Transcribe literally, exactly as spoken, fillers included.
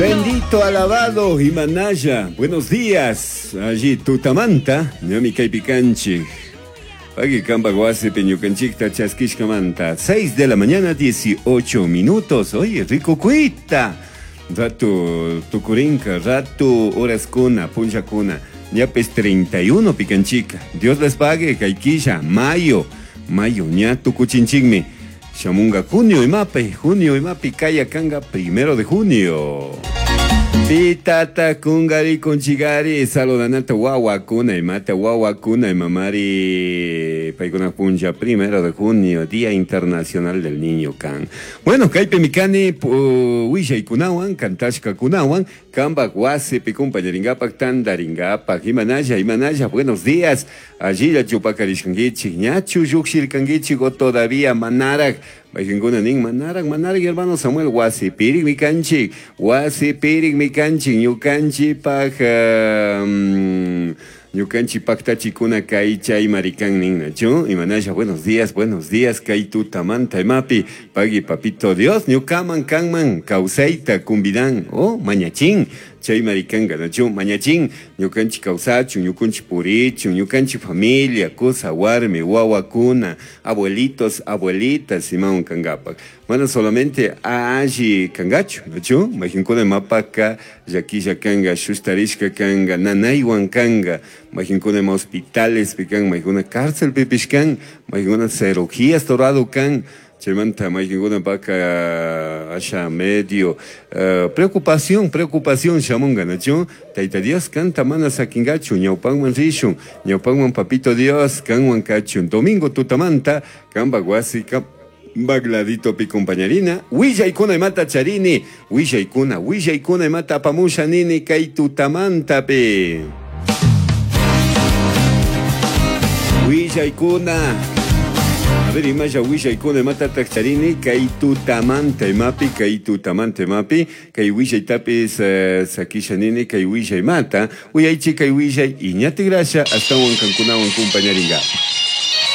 Bendito, alabado, Imanaya. Buenos días. Allí tutamanta, ñami kaypi kanchik. Pagui kamba wasipi ñukanchikta chaskishkamanta. seis de la mañana, dieciocho minutos. Oye, rico cuita. Ratu tukurinka, ratu horaskuna, punllakuna. Ñapis treinta y uno pikanchika. Dios les pague, kay killa, mayo. Mayo, ña tukuchinchikmi. Shamunga junio imapi, junio imapi kaya kanga primero de junio. Pitata kungari kunchigari saludanata wawakuna imata wawakuna imamari paykuna punlla primero de junio, Día Internacional del Niño kan. Bueno, kaypi kani willaykunawan, kantashkakunawan, kambak wasipi kumpañaringapak, tandaringapak. Imanalla, imanalla, buenos días. Allilla chupakarishkankichik, ñachu llukshirkankichik o todavía manarak. Mayqinkuna nin manarak, manarak, hermano Samuel, wasipirikmi kanchik, wasipirikmi kanchik, ñukanchikpaq um, ñukanchik paktachikuna kay chay marikan ninnachu. Imanalla, buenos días, buenos días, kay tutamanta imapi, pagui papito Dios, ñukaman kanman kawsayta kumbidan, oh, mañachin, chay marikanka, nachu, mañachin, ñukanchik kawsachun, ñukanchik purichun, ñukanchik familia, kusa warmi, wawakuna, abuelitos, abuelitas, imawan kangapak. Mana solamente alli kangachu, nachu, mayqinkuna mapaka, llakilla kanga, shustarishka kanga, nanaywan kanga, mayqinkuna ima hospitales kan, mayqinkuna cárcel pipish kan, mayqinkuna cirugías torado kan, chaymanta mayqinkuna paka asha medio uh, preocupación, preocupación shamunga, nachu. Tayta Dios kanta mana sakingachu, ñawpanman rishun, ñawpanman papito Dios kanwan kachun. Domingo tutamanta kambak wasi bagladito pi compañerina, willaykuna imata charini, willaykuna, willaykuna imata apamusha nini kay tutamantapi. Willaykuna. A ver, imalla willaykuna imatataq charini kay tutamanta imapi, kay tutamanta imapi, kay willaytapis uh, sakisha nini kay willaymata, uyaychi kay willay iñatigrasha astawan kankunawan kumpañaringa.